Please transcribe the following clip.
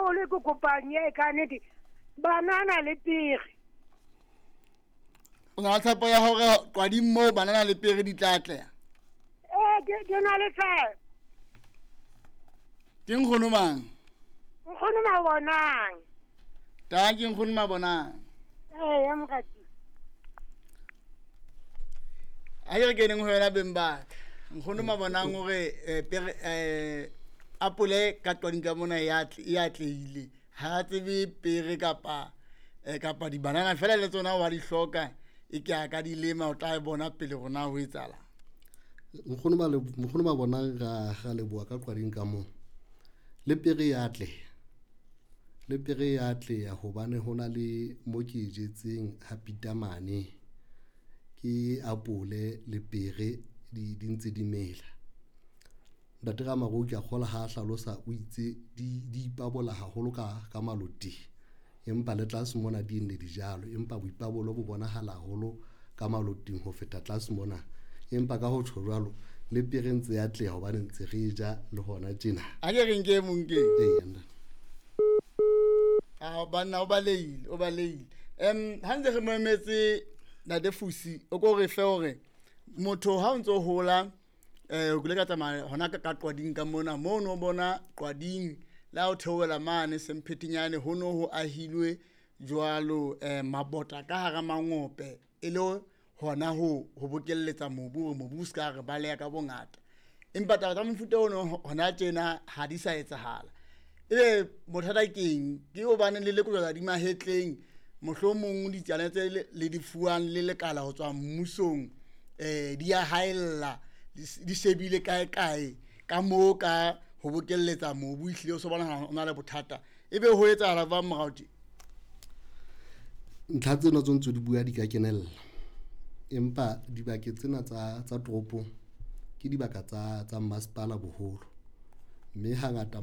haholo ke kopang e ka nnete, banana le pere. O na le tshepo ya hore qwading moo banana le pere di tla atleha? Ee, ke na le tshepo. Ke nkgono mang? Nkgono Mabonang. Ta ke nkgono Mabonang. Ee, ya morati. A ke re keneng ho yona beng ba ka. Nkgono Mabonang o re pere apole ka qwading ka mona e atlehile. Ha a tsebe pere kapa kapa dibanana fela le tsona wa di hloka, e ke a ka di lema, o tla bona pele rona ho etsahala. Nkgono Mabonang, ra leboha ka qwading ka moo. Le pere ya atleha, le pere ya atleha hobane ho na le mo ke e jetseng ha pitamane, ke apole le pere di ntse di mela. Ntate Ramaruo ke a kgolwa ha hlalosa o itse di ipabola haholo ka maloting, empa le tlase mona di nne dijalo, empa boipabolo bo bonahala haholo ka maloting ho feta tlase mona. Empa ka ho tjho jwalo, le pere ntse ya atleha hobane ntse re ja le hona tjena. A ke re nke mong ke. Ee, ntate. A banna o balehile, o balehile. Ha ntse re mo emetse Ntate Fusi, o ko re fe hore motho ha o ntso hola, o kile ka tsamaya hona ka qwading ka mona, moo no bona qwading le ha o theohela mane Semphetenyane ho no ho ahilwe jwalo, mabota ka hara mangope e le hona ho bokelletsa mobu hore mobu o ska re baleha ka bongata. Empa taba tsa mofuta ono hona tjena ha di sa etsahala. Ebe bothata keng? Ke hobane le lekojwa di mahetleng, mohlomong ditsana tse le di fuwang le lekala ho tswa mmusong, di ya haella, di shebile kae kae ka moo ka ho bokelletsa mobu, ehlile o so bonahala o na le bothata. Ebe ho etsahala jwang morao tje? Ntlha tsena tse ntse di bua di ka kenella, empa dibakeng tsena tsa toropong ke dibaka tsa masepala boholo, mme hangata